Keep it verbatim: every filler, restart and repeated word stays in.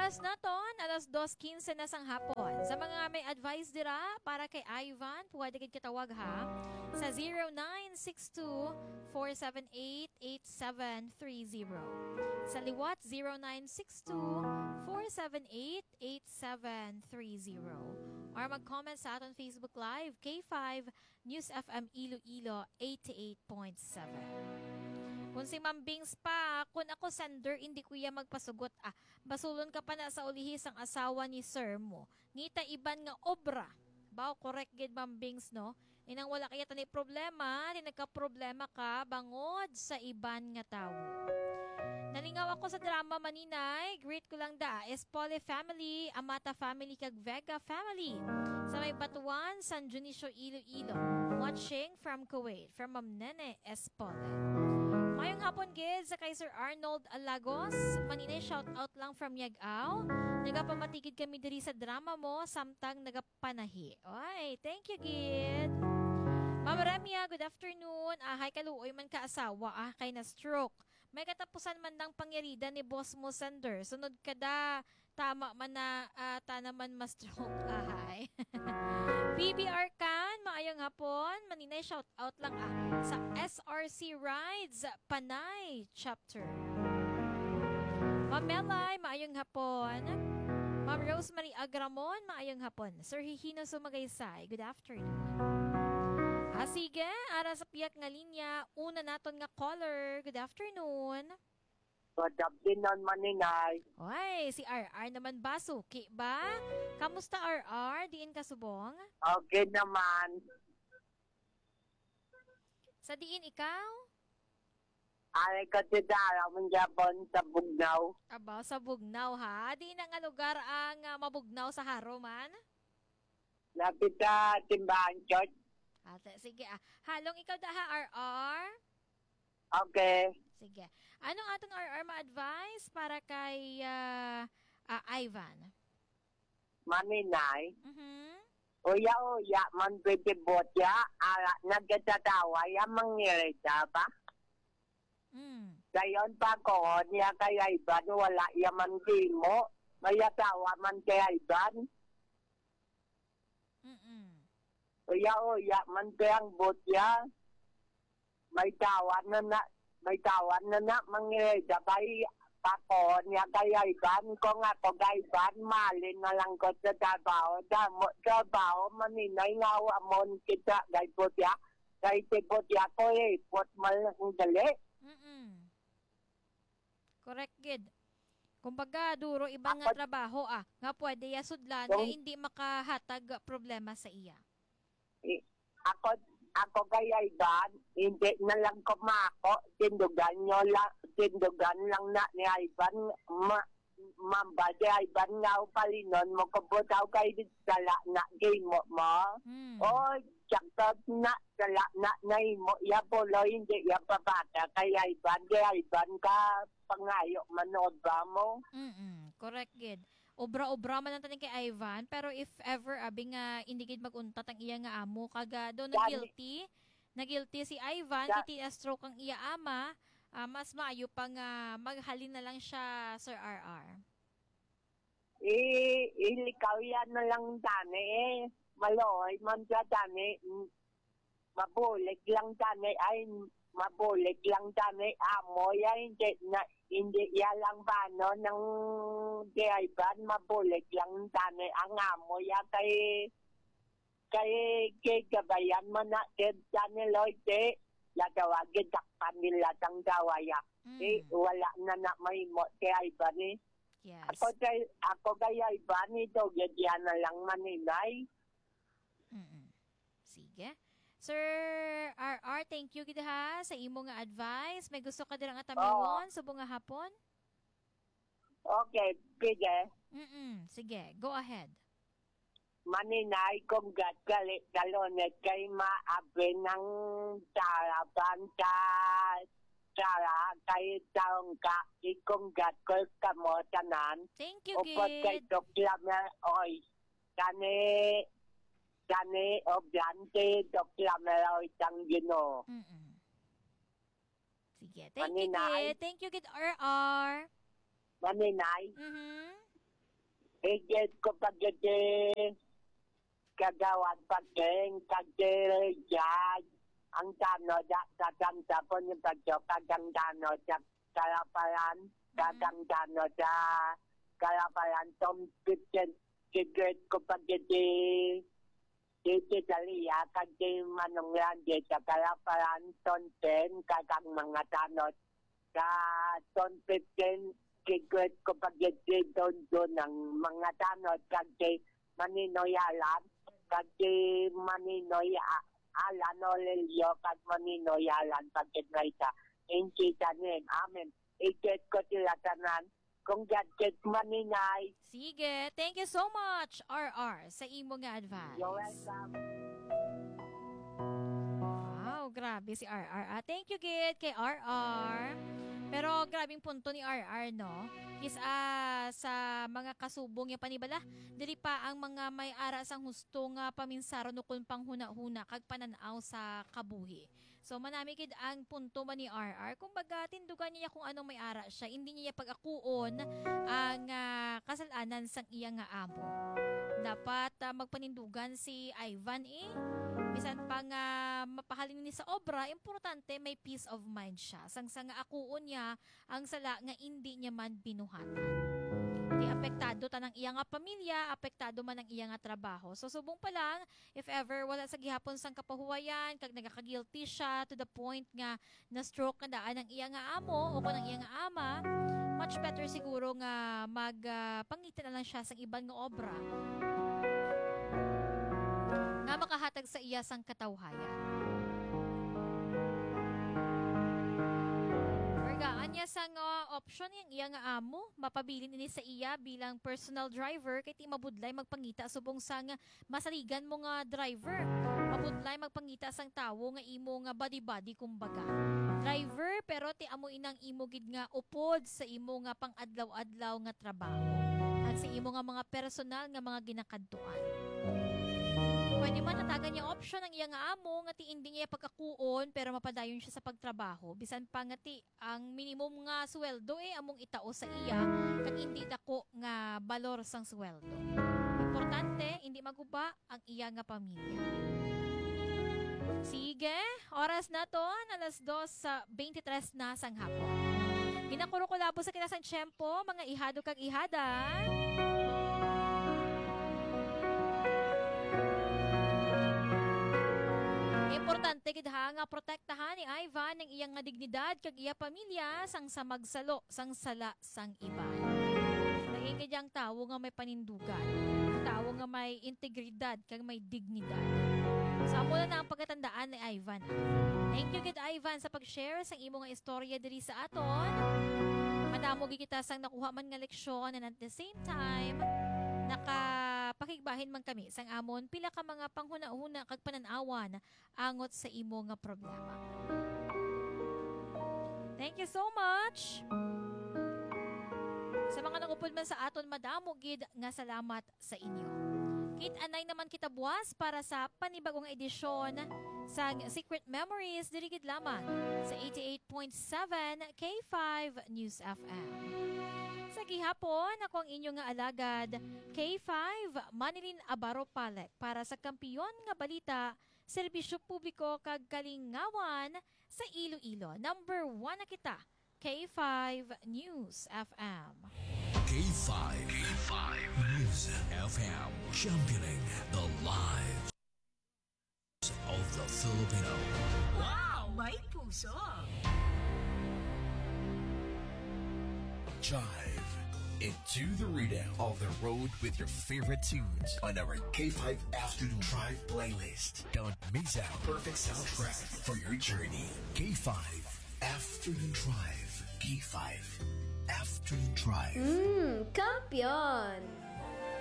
Oras naton, alas dos quince na sang hapon. Sa mga may advice dira para kay Ivan, pwede gid katawag ha sa zero nine six two, four seven eight, eight seven three zero. Sa liwat, zero nine six two, four seven eight, eight seven three zero. Or mag-comment sa aton Facebook Live, K five News F M Iloilo, eighty-eight point seven. Kung si Ma'am Bings pa, kung ako sender, hindi ko iya magpasugot. Ah, basulon ka pa na sa ulihi sang asawa ni sir mo. Ngita iban nga obra. Baw, correct gid, Ma'am Bings, no? Inang wala kaya tani problema, di nagka-problema ka bangod sa iban nga tawo. Nalingaw ako sa drama, Maninay. Greet ko lang da, Espole family, Amata family, kag Vega family. Sa may Batuan, San Dionisio, Iloilo. Watching from Kuwait, from Ma'am Nene Espole. Mayong hapon gid sa kay Sir Arnold Alagos. Maninay, shout out lang from Yag-aw. Nagapamatigid kami diri sa drama mo, samtang nagapanahi. Oy, thank you gid. Ma'am Ramya, good afternoon. Ahay, kaluoy man ka asawa, ah, kay na-stroke. May katapusan man dang pangyarida ni boss mo, sender. Sunod ka da, tama man na, ah, ta naman ma-stroke, ahay. P B R Can, maayong hapon. Maninay, shout out lang, ah, sa S R C Rides, Panay Chapter. Ma'am Melay, maayong hapon. Ma'am Rosemary Agramon, maayong hapon. Sir Hihino Sumagaysay, good afternoon. Ah, sige, ara sa piyak nga linya, una naton nga caller. Good afternoon. Good afternoon, Maninay. Oy, si R R naman ba? Suki ba? Kamusta, R R? Diin ka subong? Okay naman. Sa diin ikaw? Ari ka ti Dara, manggapon sa Bugnaw. Aba, sa Bugnaw, ha? Diin na nga lugar ang, ah, mabugnaw sa Jaro man? Lapit sa Simbahan Church. Ate, sige, ah. Halong ikaw da, ha, R R? Okay. Sige. Anong aton R R ma-advise para kay, ah, ah, Ivan? Maninay, Mhm. uya-uya man pwede bot ya, ara nagkatatawa ya, mangirita ba? Mm. Dayon pa ko niya kay Ivan, wala ya man gimo. May asawa man kay Ivan. Mm-mm. Uya-uya man kay ang bot ya. May tawa na na, may tawa na na, mangirida kay ako niya kay Ivan. Kung ako kay Ivan, mali na lang ko sa trabaho. Damo trabaho, Maninay, nga wa mo kita kay bot ya. Kay si bot ya ko, eh, pot man lang dali. Mm-mm. Correct gid. Kumbaga, duro iban nga Ako trabaho, ah, nga pwede ya sudlan nga Kung hindi makahatag problema sa iya. I-, ako, ako kay Ivan, hindi na lang ko mako, tindugan nyo lang, tindugan lang na ni Ivan, ma-, mamba si Ivan nga upalinon mo ko butaw kay sala na gimo mo. Hmm. Oy, sakto na, sala na na imo, ya pulo, hindi ya pabata kay Ivan, kay Ivan ka pangayo manod ba mo? Mm-mm, correct gid. Obra-obra man lang tani kay Ivan, pero if ever, abi nga, hindi gid mag-untat ang iya nga amo, kag, ah, daw Gani. na-guilty, na-guilty si Ivan, Ga- kay ti-stroke ang iya ama, ah, mas maayo pa nga maghalin na lang siya, Sir R R. I-, ilikaw yan na lang tani, eh. Maloy man siya tani. Mabulig lang tani, ay, mabulig lang tani, amo ya, hindi na, hindi ya lang bano ng driver, mabulig lang tani ang amo ya kay, kay, kay gabayan mo na, kay tani, Lloyd, eh, lagawa, gidakpan nila tang gawa ya. Mm. Eh, wala na na mahimo, kay Ivan, eh. Yes. Ako kay, ako kay Ivan, ito, gadya na lang maninay. Mm-mm. Sige. Sir R R, thank you gid ha sa imo nga advice. May gusto ka dira nga tamiwon Oo. subong nga hapon? Okay, sige. Mm-mm. Sige, go ahead. Maninay, kung gat gali, kalunit kay maabi ng taraban ka, tara kay taong ka, ikunggat ko kamo tanan. Thank you, Upod kay gid. Doktor Mer, oy, kani, kani, oblante, Doktor Mer, oy, tang Ginoo. Mm-mm. Sige. Thank you, Maninay. Gid. Thank you, gid, R R. Maninay. Mhm. Igit ko pagiti, kagawad pagking, kagdiri jay. Ang tanod, da, tatang tapon yung pagyo, kagang tanod, sa kalaparan, kagang tanod, sa kalaparan, tom, pitin, igit ko pagiti, Titi Dalia, kag ti Manong Randy, sa kalaparan, Tonten, kag ang mga tanod, sa Ton fifteen, kigwit ko pagiti, Don Don, ang mga tanod, kag ti Maninoy Alan, kag ti Maninoy A-, Alan Olelio, kag Maninoy Alan, pagkit na isa, in Jesus' name. Amen. Igit ko sila tanan, kung God kit maninay. Sige, thank you so much, R R, sa imo nga advice. You're welcome. Wow, grabe si R R, ah. Thank you, gid, kay R R. Pero grabing punto ni R R, no? Is, ah, sa mga kasubong niya panibala, dili pa ang mga may ara sang husto nga paminsaron ukon panghuna-huna kag panan-aw sa kabuhi. So, manami gid ang punto ba ni R R? Kumbaga, tindugan niya kung anong may ara siya. Hindi niya pag-akuon ang, ah, kasalanan sang iya nga amo. Dapat, ah, magpanindugan si Ivan, eh. Bisan pa nga mapahalin ni sa obra, importante may peace of mind siya. Sang sa nga akuon niya ang sala nga indi niya man binuhatan. Di apektado tanang iya nga pamilya, apektado man ang iya nga trabaho. So, subong pa lang, if ever wala sa gihapon sang kapahuwayan, kag nagaka-guilty siya to the point nga na-stroke na daan ang iya nga amo o kon ang iya nga ama, much better siguro nga mag, ah, pangita na lang siya sang iban nga obra nga makahatag sa iya sang katawhayan. Or gaan niya sang, ah, option yang iya nga amo, mapabilin ini sa iya bilang personal driver kay ti mabudlay magpangita subong sang masaligan mo nga driver. Mabudlay magpangita sang tawo nga imo nga body-body, kumbaga. Driver, pero ti amo inang imo gid nga upod sa imo nga pang-adlaw-adlaw nga trabaho, kag sa imo nga mga personal nga mga ginakadtuan. Pwede man hatagan niya option ang iya nga amo nga ti indi niya pag-akuon, pero mapadayon siya sa pagtrabaho, bisan pa nga ti ang minimum nga sweldo, eh, among itao sa iya, kag indi dako nga balor sang sweldo. Importante, indi maguba ang iya nga pamilya. Sige, oras naton alas dos sa twenty-three na sang hapon. Ginakurukulabo sa kita sang tiyempo, mga ihado kag ihada. Importante gid ha nga protektahan ni Ivan ang iya nga dignidad kag iya pamilya sang sa magsalo sang sala sang iban. Lain gid ang tawo nga may panindugan, ang tawo nga may integridad kag may dignidad. So, amo na ang pagkatandaan ni Ivan. Thank you gid, Ivan, sa pag-share sa imo nga istorya diri sa aton. Madamo gid kita sang nakuha man nga leksyon, and at the same time, nakapakigbahin man kami sang amon pila ka mga panghunahuna kag panan-awan angot sa imo nga problema. Thank you so much. Sa mga nangupod man sa aton, madamo gid nga salamat sa inyo. Kit-anay naman kita buwas para sa panibagong edisyon sang Secret Memories diri gid lamang sa eighty-eight point seven K five News F M. Sa gihapon, ako ang inyo nga alagad, K five, Manilyn Abaro Palek, para sa Kampiyon nga Balita, Serbisyo Publiko kag Kalingawan sa Iloilo. Number one na kita, K five News F M. K five, K five News F M, championing the lives of the Filipino. Wow! May puso! Drive into the rhythm of the road with your favorite tunes on our K five Afternoon Drive playlist. Don't miss out. Perfect soundtrack for your journey. K five Afternoon Drive. K five Afternoon Drive. Mm, kampiyon!